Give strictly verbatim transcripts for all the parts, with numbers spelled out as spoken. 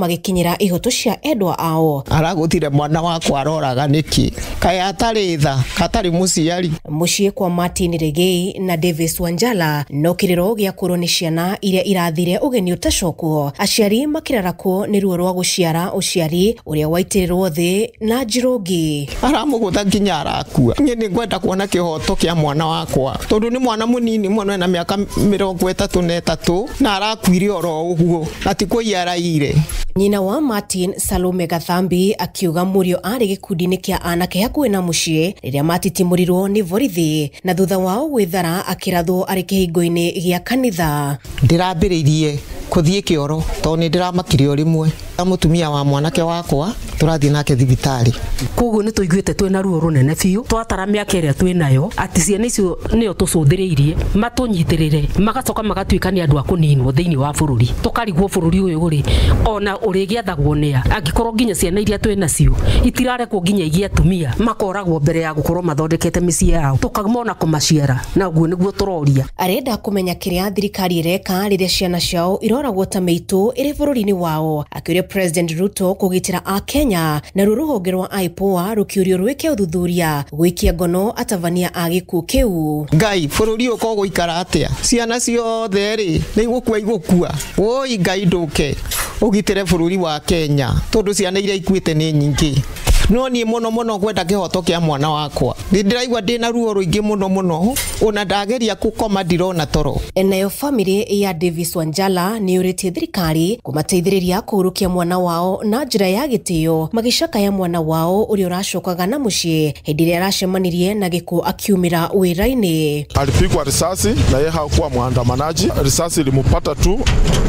magĩkinyĩra ihoto cia endwa ao. Aragũthire mwana wakwa aroraga nĩkĩ? Kaĩ atarĩ tha, katarĩ mũciari. Mũciĩ kwa Martin Regei na Davis Wanjala no kĩrĩro gĩa kũrwo nĩ ciana iria irathire ũgeni ũtacokwo, aciari makĩrarakwo nĩ ruo rwa gũciara ũciari ũrĩa waitĩrĩrwo thĩ na njirũngi. Aramũgũtha nginya arakua. Niĩ nĩ ngwenda kuona kĩhoto kĩa mwana wakwa tondũ nĩ mwana mũnini mũno, ena mĩaka mĩrongo ĩtatũ na ĩtatũ na arakuire oro ũguo na ti kũiya araiyire. Nyina wa Martin Salome Gathambi akiuga mũriũ arĩ gĩkundi-inĩ kĩa anake hakuhĩ na mũciĩ rĩrĩa matitimũrirwo nĩ borithi na thutha wao gwĩthara akĩrathwo arĩ kĩhingo-inĩ gĩa kanitha. Ndĩrambĩrĩirie kũthiĩ kĩoro tondũ nĩ ndĩramakire o rĩmwe. Mũtumia wa mwanake wakwa tũrathiĩ nake thibitarĩ. Koguo nĩ tũiguĩte twĩna ruo rũnene biũ, twatara mĩaka ĩrĩa twĩnayo atĩ ciana icio nĩo tũcũthĩrĩirie matũnyitĩrĩre magacoka magatuĩka nĩ andũ a kũninwo thĩinĩ wa bũrũri. Tũkarigwo bũrũri ũyũ rĩ ona ũrĩgĩathagwo nĩa, angĩkorwo nginya ciana iria twĩnacio itirarekwo nginya igie atumia makoragwo mbere ya gũkorwo mathondekete mĩciĩ yao, tũkamona kũmaciara na ũguo nĩguo tũroria. Arenda kũmenya kĩrĩa thirikari ĩreka rĩrĩa ciana ciao iroragwo ta mĩitũ ĩrĩ bũrũri-inĩ wao. Akĩũria President Ruto kũgitĩra Akenya na ruo rũhonge rwa I P O A rũkĩũrio rwĩke ũthuthuria gwĩkia ngono atabania a gĩkuũ kĩu. Ngai, bũrũri ũyũ ũgũikara atĩa? Ciana ciothe rĩ nĩ igũkua igũkua. Woi Ngai, ndũke ũgitĩre bũrũri wa Kenya tondũ ciana iria ikuĩte nĩ nyingĩ. No niĩ mũno mũno ngwenda kĩhoto kĩa mwana wakwa. Nĩ ndĩraigua ndĩna ruo rũingĩ mũno mũno, ona ndageria kũkoma ndirona toro. Nayo famĩlĩ ya Davis Wanjala nĩ yũrĩtie thirikari kũmateithĩrĩria kũhurũkia mwana wao na njĩra ya gĩtĩo, magĩcakaya mwana wao ũrĩa ũracokaga na mũciĩ hĩndĩ ĩrĩa aracemanirie na gĩkuũ akiumĩra wĩra-inĩ. Alipigwa risasi na yeye hakuwa mwandamanaji, risasi ilimpata tu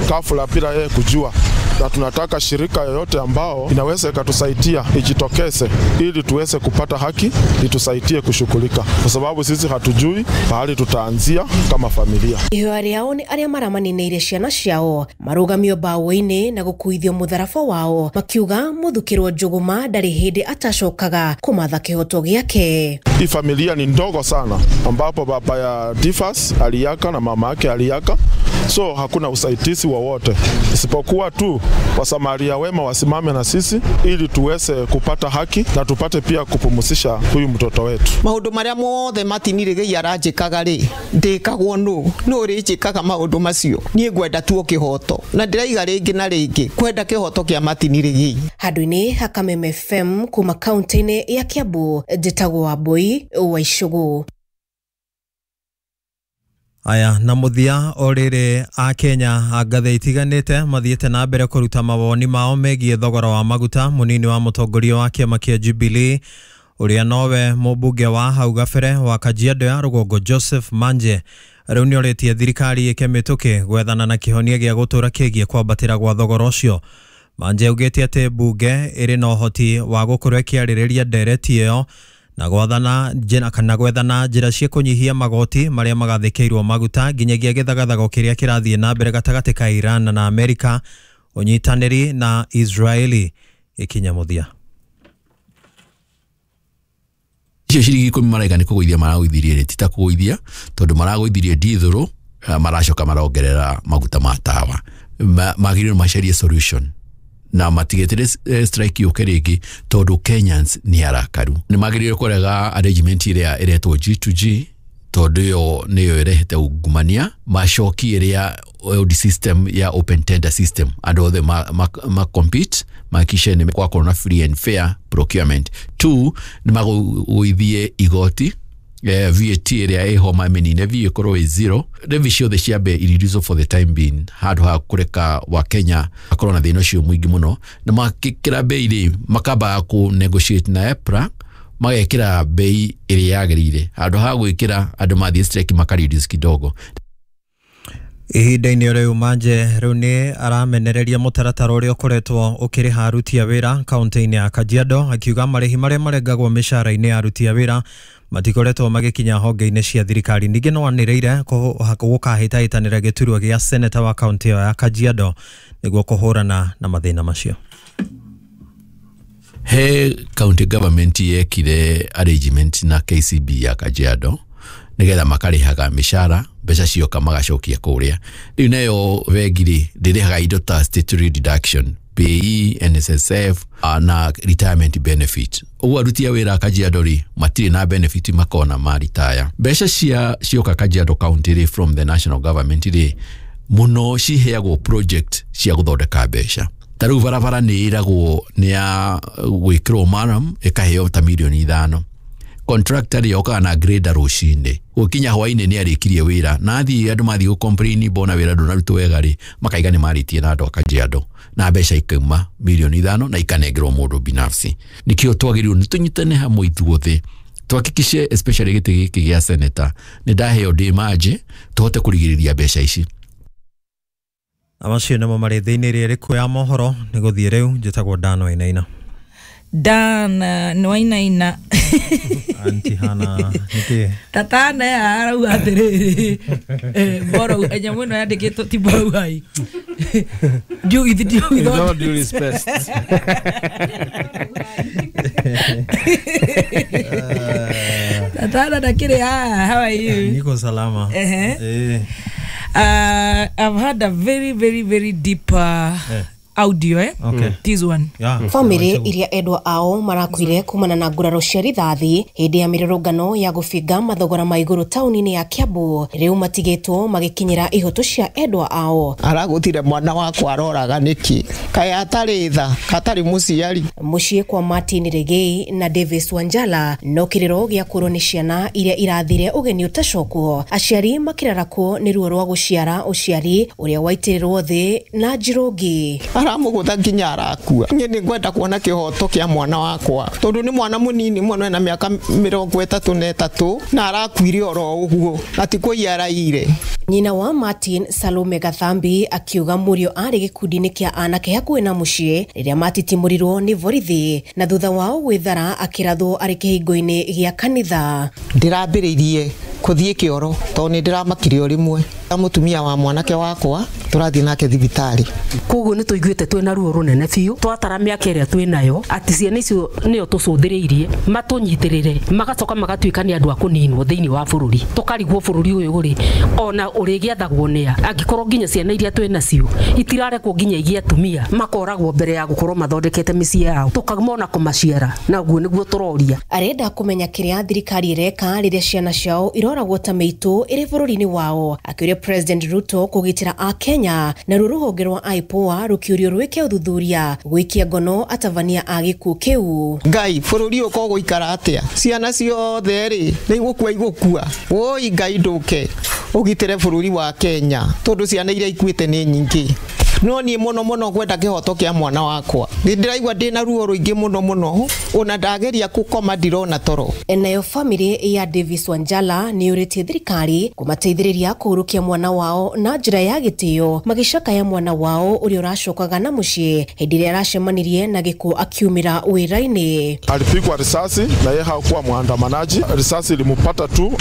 ghafla bila yeye kujua. Na tunataka shirika yoyote ambao inaweza ikatusaidia ijitokeze ili tuweze kupata haki, itusaidie kushughulika, kwa sababu sisi hatujui pahali tutaanzia kama familia. Ihoya rĩao nĩ arĩa maramaninĩire ciana ciao marũgamio mbaũ-inĩ na gũkuithio mũtharaba wao, makiuga mũthukĩrwo Njũgũma ndarĩ hĩndĩ atacokaga kũmatha kĩhoto gĩake. Hii familia ni ndogo sana ambapo baba ya Difas aliaka na mama yake aliaka, so hakuna usaidizi wowote isipokuwa tu wasamaria wema wasimame na sisi ili tuweze kupata haki na tupate pia kupumzisha huyu mtoto wetu. Maũndũ marĩa mothe Martin Regei aranjĩkaga rĩ ndĩkagwo nũ nũ ũrĩnjĩkaga maũndũ macio. Niĩ ngwenda tu kĩhoto na ndĩraiga rĩngĩ na rĩngĩ kwenda kĩhoto kĩa Martin Regei. Handũ-inĩ ha Kameme F M kuma kaunti-inĩ ya Kiambu, njĩtagwo Wambui wa Icũgũ. Aya na muthia o rĩrĩ a Kenya a ngathĩ itiganĩte mathiĩte na mbere kũruta mawoni mao megiĩ thogora wa maguta. Mũnini wa mũtongoria wa kĩama kĩa Jubilee ũrĩa nowe mũmbunge wa hau gabere wa Kajiado ya rũgongo Joseph Manje rĩu nĩorĩtie thirikari ĩke mĩtũkĩ gwethana na kĩhonia gĩa gũtũra kĩgiĩ kwambatĩra gwa thogora ũcio. Manje augĩte atĩ mbunge ĩrĩ na ũhoti wa gũkorwo ĩkĩarĩrĩria ndereti ĩyo na gwathana njĩra kana gwethana njĩra cia kũnyihia magoti marĩa magathĩkĩirwo maguta nginyagia gĩthagathago kĩrĩa kĩrathiĩ na mbere gatagatĩ ka Iran na Amerika, ũnyitanĩri na Israeli ikinya mũthia. Icio ciringi ikũmi maraiga nĩ kũgũithia maragũithirie rĩ, ti ta kũgũithia tondũ maragũithirie ndithũrũ, maracoka marongerera maguta ma tawa. Magĩrĩirwo macarie solution na matigetere strike yũke rĩngĩ tondũ Kenyans nĩ arakaru. Nĩ magĩrĩirwo kũrega arrangement ĩrĩa ĩretwo G to G tondũ ĩyo nĩyo ĩrehete ungumania, macoki ĩrĩa old system ya open tender system andũ othe ma, ma, ma compete makishe nĩ gwakorwo na free and fair procurement. Two, nĩ magũithie igoti eh, V A T ĩrĩa ĩho mamĩnine V ĩkorwo ĩ zero. Levy ciothe ciambe iririzo for the time being handũ ha kũreka wa Kenya akorwo na thĩna ũcio mũingĩ mũno, na makĩkĩra bei rĩ makamba kũ negotiate na EPRA magekĩra bei ĩrĩa yagĩrĩire handũ ha gwĩkĩra andũ mathiĩ strike makareduce kidogo. Ihinda-inĩ rĩu Manje rĩu nĩ aramenereria mũtaratara ũrĩa ũkoretwo ũkĩrĩha aruti a wĩra kaunti-inĩ ya Kajiado, akiuga marĩhi marĩa marengagwo mĩcara-inĩ ya aruti a wĩra matikoretwo magĩkinya honge-inĩ cia thirikari. Ningĩ no anĩrĩire gũkahĩtahĩtanĩra gĩturwa gĩa seneta wa kaunti ĩyo ya Kajiado nĩguo kũhũrana na mathĩna macio. He county government yekire arrangement na K C B ya Kajiado nigetha makarĩhaga mĩcara mbeca cioka magacokia kũrĩa. Rĩu nayo bengi rĩ ndĩrĩhaga indo ta statutory deduction P A Y E, N S S F na retirement benefit. Ũguo aruti a wĩra a Kajiado rĩ matirĩ na benefit makona ma retire. Mbeca cia cioka Kajiado County rĩ from the national government rĩ mũno ciheagwo project cia gũthondeka mbeca. Ta rĩu barabara nĩ ĩragwo nĩ ya gwĩkĩrwo maram ĩkaheo ta milioni ithano. Contractor rĩ okaga na grader rũcinĩ gũkinya hwainĩ nĩ arĩkirie wĩra na athiĩ andũ mathiĩ gũ complain bona wĩra ndũnarutwo wega rĩ makaiga nĩ marĩtie na andũ a Kajiado na mbeca ikauma milioni ithano na ikanengerwo mũndũ binafsi. Nĩkĩo twagĩrĩirwo nĩ tũnyitane hamwe ithuothe tuhakikishe especially gĩtĩ gĩkĩ gĩa senator nĩ ndaheo ndĩ manjĩ tũhote kũrigĩrĩria mbeca ici. Amacio nĩmo marĩ thĩinĩ ĩrĩa ĩrĩkũ ya mohoro nĩ gũthiĩ rĩu njĩtagwo Dan Wainaina. Dan uh, Wainaina. Auntie Hana nĩkĩ tatana arauga atĩrĩrĩ eh boro nyamũ ĩno yandĩkĩtwo ti boro hai due with due with all due respect. Tatana ndakĩrĩ haha, how are you? Niko salama. Eh eh Uh, I've had a very, very, very deep uh, yeah. audio, eh? Okay. This one. Yeah. Family iria endwa ao marakuire kumana na nguraro cia rithathi hindi ya mirurungano ya gubinga mathogora ma iguru tauni-ini ya Kiambu riu matigitwo magikinyira ihoto cia endwa ao. Aragutire mwana wakwa aroraga niki kaya atari tha katari muciari. Muciĩ kwa Martin Regei na Davis Wanjala no kiriro gia kurwo ni ciana iria irathire ugeni utacokwo aciari makirarakwo ni ruo rwa guciara uciari uria waitirirwo thi na njirungi. Aramugutha nginya arakua. Niĩ nĩ ngwenda kuona kĩhoto kĩa mwana wakwa tondũ nĩ mwana mũnini mũno ena mĩaka mĩrongo ĩtatũ na ĩtatũ na arakuire oro ũguo na ti kũiya araiyire. Nyina wa Martin Salome Gathambi akiuga mũriũ arĩ gĩkundi-inĩ kĩa anake hakuhĩ na mũciĩ rĩrĩa matitimũrirwo nĩ borithi na thutha wao gwĩthara akĩrathwo arĩ kĩhingo-inĩ gĩa kanitha. Ndĩrambĩrĩirie kũthiĩ kĩoro tondũ nĩ ndĩramakire o rĩmwe. Mũtumia wa mwanake wakwa tũrathiĩ nake thibitarĩ. Koguo nĩ tũiguĩte twĩna ruo rũnene biũ twatara mĩaka ĩrĩa twĩnayo atĩ ciana icio nĩo tũcũthĩrĩirie matũnyitĩrĩre magacoka magatuĩka nĩ andũ a kũninwo thĩinĩ wa bũrũri tũkarigwo bũrũri ũyũ rĩ ona ũrĩgĩathagwo nĩa angĩkorwo nginya ciana iria twĩnacio itirarekwo nginya igie atumia makoragwo mbere ya gũkorwo mathondekete mĩciĩ yao tũkamona kũmaciara na ũguo nĩguo tũroria. Arenda kũmenya kĩrĩa thirikari ĩreka rĩrĩa ciana ciao iroragwo ta mĩitũ ĩrĩ bũrũri-inĩ wao akĩũria President Ruto kũgitĩra a Kenya na ruo rũhonge rwa I P O A rũkĩũrio rwĩke ũthuthuria gwĩkia ngono atabania a gĩkuũ kĩu. Ngai bũrũri ũyũ gũikara atĩa ciana ciothe rĩ nĩ igũkua igũkua. Woi Ngai ndũke ũgitĩre bũrũri wa Kenya tondũ ciana iria ikuĩte nĩ nyingĩ. No niĩ mũno mũno ngwenda kĩhoto kĩa mwana wakwa. Nĩ ndĩraigua ndĩna ruo rũingĩ mũno mũno ona ndageria kũkoma ndirona toro. Nayo family ya Davis Wanjala nĩ yũrĩtie thirikari kũmateithĩrĩria kũhurũkia mwana wao na njĩra ya gĩtĩo magĩcakaya mwana wao ũrĩa ũracokaga na mũciĩ hĩndĩ ĩrĩa aracemanirie na gĩkuũ akiumĩra wĩra-inĩ. Alipigwa risasi na yeye hakuwa mwandamanaji. Risasi ilimpata tu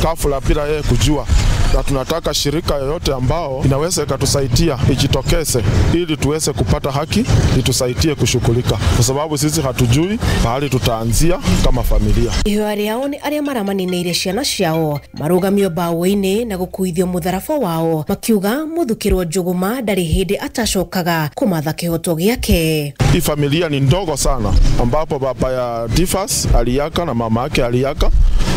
ghafla bila yeye kujua. Na tunataka shirika yoyote ambao inaweza ikatusaidia ijitokeze ili tuweze kupata haki, itusaidie kushughulika kwa sababu sisi hatujui pahali tutaanzia kama familia. Ihoya rĩao nĩ arĩa maramaninĩire ciana ciao marugamio mbaũ-inĩ na gũkuithio mũtharaba wao makiuga mũthukĩrwo Njũgũma ndarĩ hĩndĩ atacokaga kũmatha kĩhoto gĩake. Hii familia ni ndogo sana ambapo baba ya Difas aliaka na mama yake aliaka,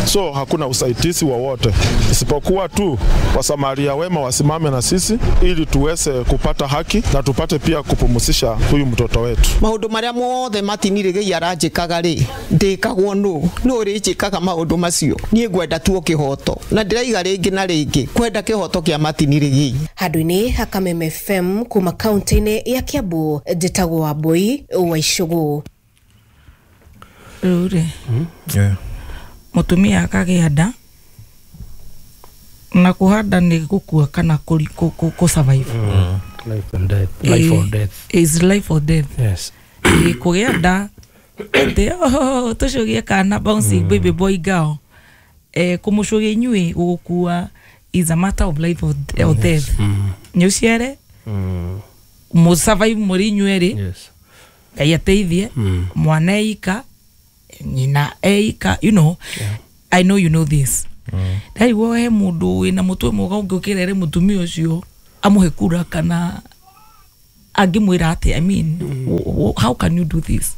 so hakuna usaidizi wowote isipokuwa tu wasamaria wema wasimame na sisi ili tuweze kupata haki na tupate pia kupumzisha huyu mtoto wetu. Maundu maria mothe matinire aranjikaga ri ndikagwo nu nu rinjikaga maundu macio nie ngwenda tuo kihoto na ndiraiga ringi na ringi kwenda kihoto kia matinire. Handu-inĩ ha Kameme F M kuma kaunti-inĩ ya Kiambu njĩtagwo Wambui wa Icũgũ. Rĩu rĩ mũtumia akagĩa nda na kuhanda nĩ gũkua kana kũ survive. Mm. Life and death. Life or death. Is life or death. Yes. Kũgĩa nda atĩ oh tũcũgie kana bouncing mm. baby boy girl eh kũmũcũgia inyuĩ gũgũkua is a matter of life or, or death. Mm. Nĩ ũciare mm. mũ survive mũrĩ inyuĩ rĩ. Yes. Ngai ateithie mm. mwana eika nyina eika, you know. Yeah. I know you know this. Ndarigwo he mundu wina mutwe muga ungiukirere mutumia ucio amuhe kura kana Angĩmwĩra atĩa? I mean, mm. how can you do this?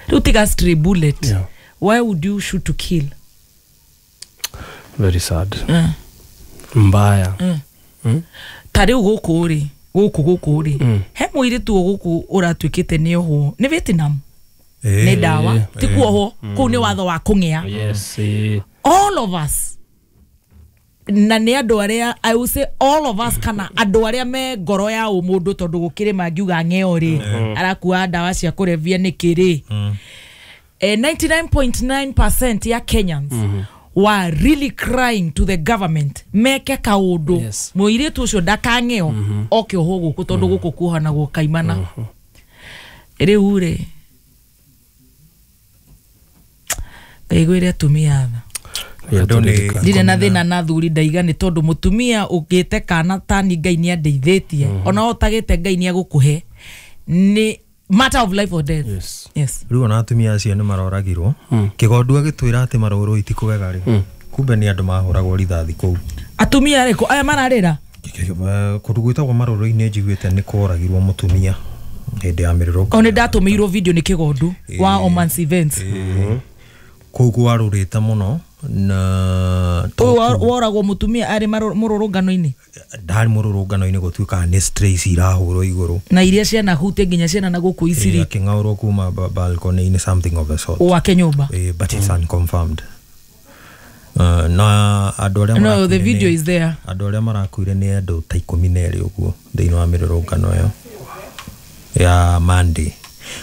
Rĩu tiga stray bullet. Yeah. Why would you shoot to kill? Very sad. Uh. Mbaya. Mm. Mm. Ta rĩu gũkũ rĩ, gũkũ gũkũ rĩ, Mm. he mũirĩtu o gũkũ ũratuĩkĩte nĩ ohwo nĩ Vietnam, Eh, nĩ ndawa, ti kuohwo, Mm. kũu nĩ watho wa kũng'ea. Yes. Eh. All of us, na nĩ andũ arĩa, I will say all of us, kana andũ arĩa me ngoro ya ũmũndũ, tondũ gũkĩrĩ mangiuga ng'eo rĩ, arakua ndawa cia kũrebia nĩkĩ rĩ. Mm. Eh, ninety-nine point nine percent ya Kenyans Mm-hmm. were really crying to the government meke kaũndũ. Yes. Mũirĩtu ũcio ndakang'eo, Mhm. oke ohwo gũkũ, tondũ gũkũ kuohanagwo kaimana. Rĩu rĩ, ngaiguĩre atumia tha. Andũ nĩ Ndirĩ na thĩna na athuri, ndaiga nĩ tondũ mũtumia ũgĩte kana tani Ngai nĩ andeithĩtie, ona ũtagĩte Ngai nĩ agũkũhe, nĩ matter of life or death. Yes. Yes. Rĩu ona atumia acio nĩ maroragirwo. Mm. Kĩgondu agĩtwĩra atĩ marũrũ itikũgega rĩ, Mm. kumbe nĩ andũ mahũragwo rithathi kũu. Atumia arĩkũ aya mararĩra? Kũndũ gwĩtagwo marũrũ-inĩ njiguĩte nĩ kworagirwo mũtumia hĩndĩ ya mĩrũrũngano. O nĩ ndatũmĩirwo video nĩ Kĩgondu wa Omans Events. Kũu kwarũrĩte mũno na Ũyũ wa- woragwo mũtumia arĩ marũ- mũrũrũngano-inĩ, ndarĩ mũrũrũngano-inĩ, gũtuĩkaga nĩ strays irahũrwo igũrũ na iria ciana hutie nginya ciana na gũkũ iciri, akĩng'aũrwo kuma ba- balcony-inĩ, something of the sort. Wake nyũmba. Eh, but it's unconfirmed. Uh, na andũ arĩa No, the marakuire video nĩ- is there. andũ arĩa marakuire nĩ andũ ta ikũmi na erĩ ũguo thĩinĩ wa mĩrũrũngano ĩyo ya Monday.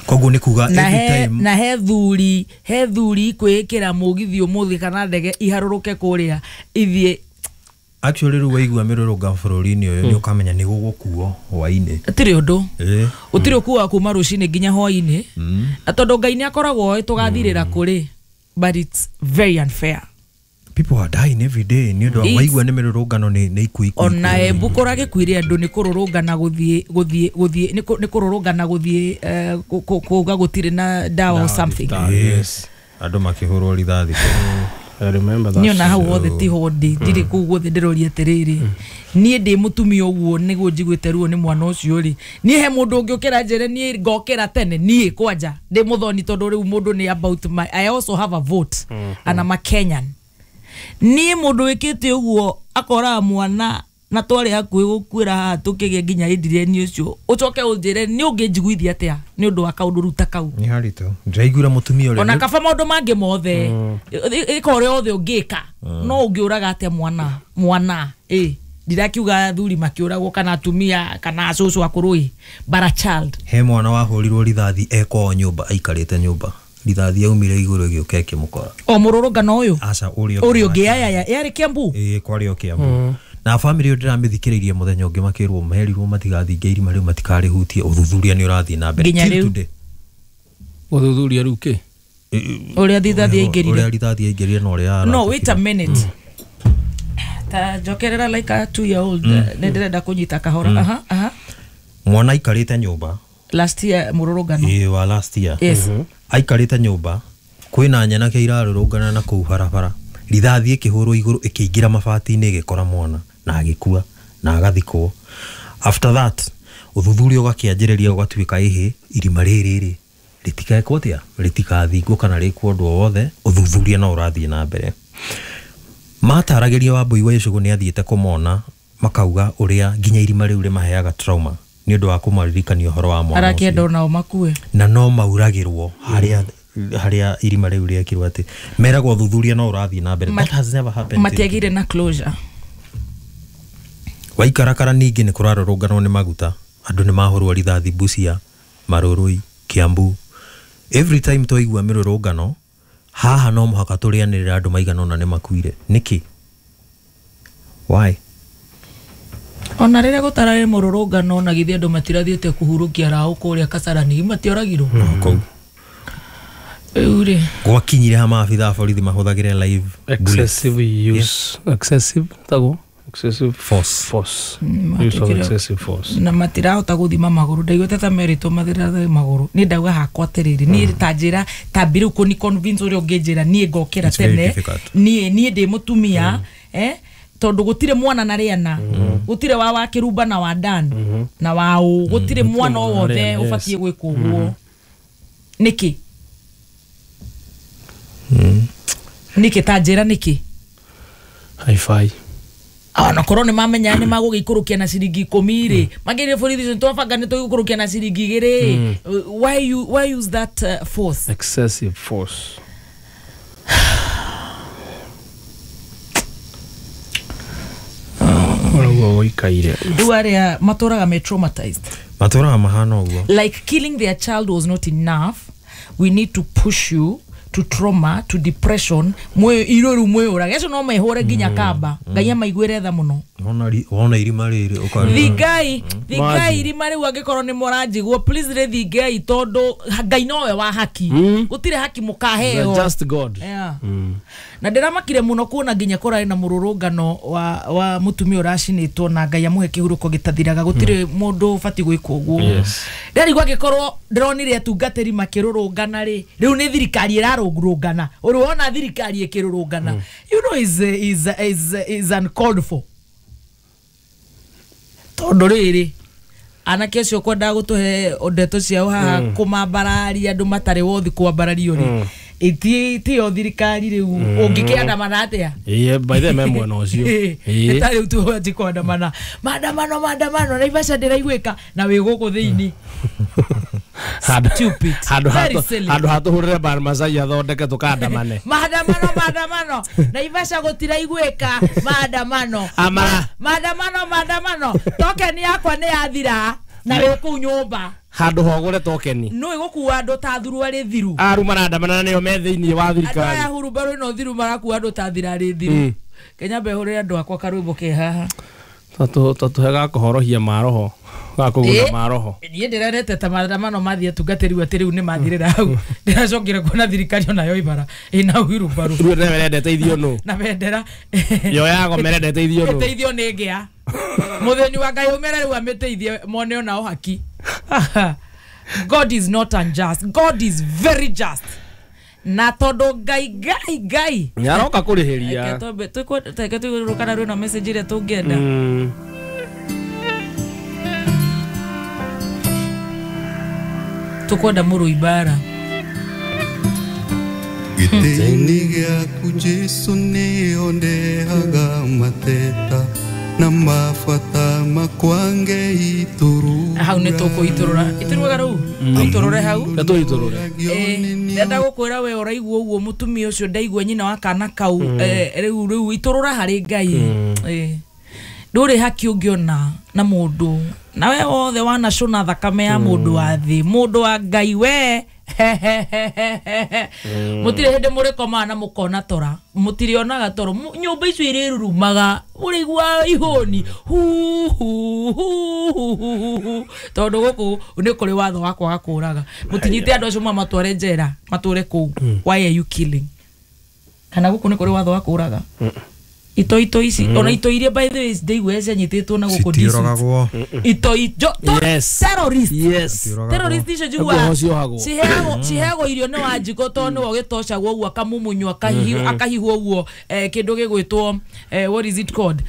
Koguo nĩ kuga Na every he, time na he thuri, he thuri kwĩĩkĩra mũgithi ũmũthĩ kana ndege iharũrũke kũrĩa ithiĩ. Actually rĩu waigua mĩrũrũngano bũrũri-inĩ ũyũ nĩ ũkamenya nĩ gũgũkuo hwainĩ. Hatirĩ ũndũ, Eh. gũtirĩ ũkuaga kuma rũcinĩ nginya hwainĩ, na tondũ Ngai nĩ akoragwo oĩ tũgathirĩra kũrĩ, but it's very unfair. People are dying every day nĩ ũndũ wa It's- waigua nĩ mĩrũrũngano nĩ nĩ ikuũ ikuũ. Ona Embu kũragĩkuire andũ nĩ kũrũrũngana gũthiĩ gũthiĩ gũthiĩ nĩ kũ- nĩ kũrũrũngana gũthiĩ, eh, kũ- kũ- kuga gũtirĩ na dawa or something. Yes. Andũ makĩhũrwo rithathi kũu. I remember that. Niĩ ona hau hothe tiho ndĩ, ndirĩ kũu guothe, ndĩroria atĩrĩrĩ, niĩ ndĩ mũtumia ũguo nĩguo njiguĩte ruo nĩ mwana ũcio rĩ, niĩ he mũndũ ũngĩũkĩra njĩre niĩ ngokĩra tene, niĩ kwanja ndĩ mũthoni, tondũ rĩu mũndũ nĩ about my, I also have a vote and I'm a Kenyan. Niĩ mũndũ wĩkĩte ũguo akoraga mwana na twarĩ hakuhĩ gũkuĩra haha tũkĩgĩa nginya Adrian ũcio, ũcoke ũnjĩre nĩ ũngĩnjiguithia atĩa nĩ ũndũ wa kaũndũ rĩu ta kau. Nĩ haritũ. Ndĩraiguire mũtumia ũrĩa Ona kaba maũndũ mangĩ mothe, ĩka ũrĩa othe ũngĩka, no ũngĩũraga atĩa mwana mwana? Ĩ ndirakiuga athuri makĩũragwo kana atumia kana acũcũ akũrũ ĩ, but a child. He mwana wahũrirwo rithathi ekwao nyũmba, aikarĩte nyũmba, rithathi yaumire igũrũ ĩgĩũka ĩkĩmũkora. O mũrũrũngano ũyũ? Aca, ũrĩa ũrĩa ũngĩ, ayaya yarĩ Kiambu. Ĩĩ, kwarĩ o Kiambu. Na bamĩrĩ ĩyo ndĩramĩthikĩrĩirie mũthenya ũngĩ makĩrwo merirwo matigathinge irima rĩu, matikarĩhutie, ũthuthuria nĩ ũrathiĩ na mbere Nginya Till rĩu. today. Ũthuthuria rĩu kĩ? Ũrĩa rithathi yaingĩrire. Ũrĩa rithathi yaingĩrire na ũrĩa No, wait a minute, ta njokerera like a two year old, nĩ ndĩrenda kũnyita kahora. Aha, aha. Mwana aikarĩte nyũmba. Last year mũrũrũngano. Ĩĩ, wa last year. Yes. Aikarĩte nyũmba, kwĩna nyanake irarũrũngana na kũu barabara, rithathi ĩkĩhũrwo igũrũ ĩkĩingĩra mabati-inĩ ĩgĩkora mwana na agĩkua na agathikwo. After that ũthuthuria ũgakĩanjĩrĩria, ũgatuĩka ĩhĩ irima rĩrĩ rĩ rĩtikekwo atĩa, rĩtikathingwo kana rĩkwo ũndũ o wothe, ũthuthuria no ũrathiĩ na mbere. Mataragĩria Wambui wa Icũgũ nĩ athiĩte kũmona, makauga ũrĩa nginya irima rĩu rĩmaheaga trauma nĩ ũndũ wa kũmaririkania ũhoro wa mwana Arakĩenda ũcio. onao makue. Na no mauragĩrwo harĩa harĩa irima rĩu rĩekirwo, atĩ meragwo ũthuthuria no ũrathiĩ na mbere. That has never happened till Matiagĩire na closure. Waikarakara ningĩ nĩ kũrarũrũnganwo nĩ maguta, andũ nĩ mahũrwo rithathi Busia, Marũrũi, Kiambu. Every time twaigua mĩrũrũngano haha no mũhaka tũrĩanĩrĩra andũ maigana ũna nĩ makuire. Nĩkĩ? Why? Ona rĩrĩa gũtararĩ mũrũrũngano, na githĩ andũ matirathiĩte kũhurũkia raũ kũrĩa Kasarani, matioragirwo kũu? Rĩu rĩ, gwakinyire ha maabitha a borithi mahũthagĩre live bullets. Excessive use. Excessive tago excessive Force. Force. Mm, Use of matikire- excessive force. Na matirahota gũthima magũrũ, ndaiguĩte ta merĩtwo mathirathe magũrũ. Niĩ ndauga hakwa atĩrĩrĩ, niĩ ta njĩra tambi rĩu kũni convince ũrĩa ũngĩnjĩra niĩ ngokĩra It's very tene difficult. niĩ niĩ ndĩ mũtumia, eh, Tondu gutire mwana na riana gutire wa wa Kirumba na wa Dan na wa u gutire mwana o wothe ubatie gwikwo uguo niki niki ta njira niki haifai ona korwo nĩ mamenya nĩ magũgĩikũrũkia na ciringi ikũmi rĩ magĩrĩire borithi icio twabanga nĩ tũgũikũrũkia na ciringi igĩrĩ. Why you why use that uh, force, excessive force? Rĩu arĩa matũraga me traumatized, matũraga mahana ũguo, like killing their child was not enough, we need to push you to trauma, to depression, mwe iroru mwe ura geco no mehore nginya kamba ngai amaiguire tha muno. Wona wona irima riri ukari thingai thingai irima riu angikorwo ni muranjiguo please ri thingai tondu ngai nowe wa haki gutire haki mukaheo, just God. Yeah. Mm. Na ndiramakire muno kuona nginya kurari na mururungano wa wa mutumia uracinitwo na ngai amuhe kihuruko gitathiraga gutire mundu ubati gwikwo uguo. Ndarigwo angikorwo ndironire atungatiri makirurungana ri riu ni thirikari irarurungana uri wona thirikari ikirurungana, you know, is is is is uncalled for. Tondu riri anake acio kwendaga gutuhe ndeto ciao haha kumambararia andu matari wothi kwambarario ri iti tiyo thirikari riu ungikiandamana atia? Iye by the me mwena ucio ita riu tuanji kwandamana maandamano maandamano Naivasha ndiraiguika na wi guku thiini. Stupid, very silly. Handu hatuhurire bar Masai athondeke tukandamane maandamano maandamano Naivasha gutiraiguika maandamano maandamano maandamano tokeni yakwa ni yathira na wi kuu nyumba handu hogure tokeni no igukua andu ta thuruarĩ thiru aru marandamana nio me thiini wa thirikari andu aya hurumbarũ ino thiru marakua andu ta thirarĩ thiru. Kenya mbehũrĩre andu akwa karwĩmbo ke haha tatu tatuhe gakuhorohia maroho gakuguna maroho. Niĩ ndĩrerete ta maandamano mathiĩ atungatĩri atĩ rĩu nĩ mathirĩra hau ndĩracokire kuona thirikari onayo ibara ĩna hurumbarũ rĩu nĩ ĩteithio nũ na bendera yo yagomere ndeteithio nũ ĩteithio nĩ ngĩa mutheni wa Ngai umere rĩu amĩteithie mone onao haki. God is not unjust, God is very just. Na tondu Ngai Ngai Ngai nĩaroka kũrĩhĩria reke tũigũrũkana rwĩna message ĩrĩa tũngĩenda. Tukwenda mũrũi mbara gĩtĩ-inĩ gĩaku Jesu nĩo ndehaga mateta na mabata makwa ngeitũrũra. Hau nĩ tũkũitũrũra itũrũraga rĩu tũitũrũre hau tũitũrũre. Ndenda gũkwĩra we ũraigua ũguo mũtumia ũcio ndaigua nyina wa kana kau rĩu rĩu itũrũra harĩ Ngai. Ndũrĩ haki ũngĩona na mũndũ na we wothe wanacũna thakame ya mũndũ wa thĩ mũndũ wa Ngai we mũtirĩ hĩndĩ mũrĩkomaga na mũkona tora mũtirĩonaga toro nyũmba icio irĩrurumaga mũrĩigua ihũni hu hu hu tondũ gũkũ nĩ kũrĩ watho wa kwaga kũraga mũtinyite andũ acio mamatware njera matũre kũu. Why are you killing? Kana gũkũ nĩ kũrĩ watho wa kũraga ito ito ici ona ito iria by the way ndaigua cianyitĩtwo na gũkũ citiũragagwo ito ijo terrorist. Yes, terrorist icio njigua ciheagwo ciheagwo irio nĩ Wanjikũ tondũ nĩwe ũgĩtocagwo ũguo akamumunywo akahihwo ũguo kĩndũ gĩgwĩtwo what is it called,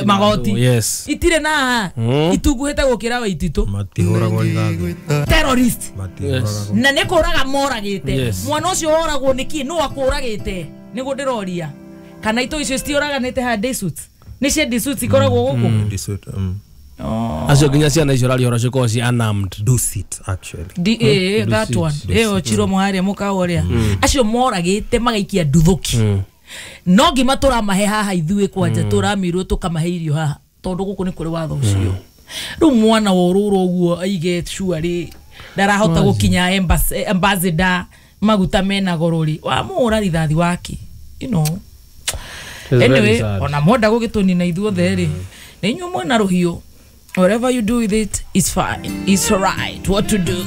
magoti. Itirĩ na itunguhĩte gũkĩra Waititũ matihũragwo rithathi terrorist na nĩ kũraga moragĩte mwana ũcio woragwo nĩkĩ nũ akũragĩte nĩguo ndĩroria kana ito icio citiũraganĩte ha day suits nĩ cia day suits ikoragwo gũkũ day suit acio nginya ciana icio ũraria ũhoro cikoragwo ci unarmed dusit actually D eh that one ĩyo chiro mũharĩa mũkawa ũrĩa acio moragĩte magaikia nduthũki no ngima tũramahe haha ithuĩ kwanja tũramirwo tũkamahe irio haha tondũ gũkũ nĩ kũrĩ watho ũcio rĩu mwana worũrwo ũguo aige surely ndarahota gũkinya ambassador maguta mena goro rĩ wamũhũra rithathi wake you know. Anyway, ona mwenda gũgĩtũnina ithuothe rĩ nĩ inyuĩ mwena rũhiũ whatever you do with it is fine, it's alright what to do.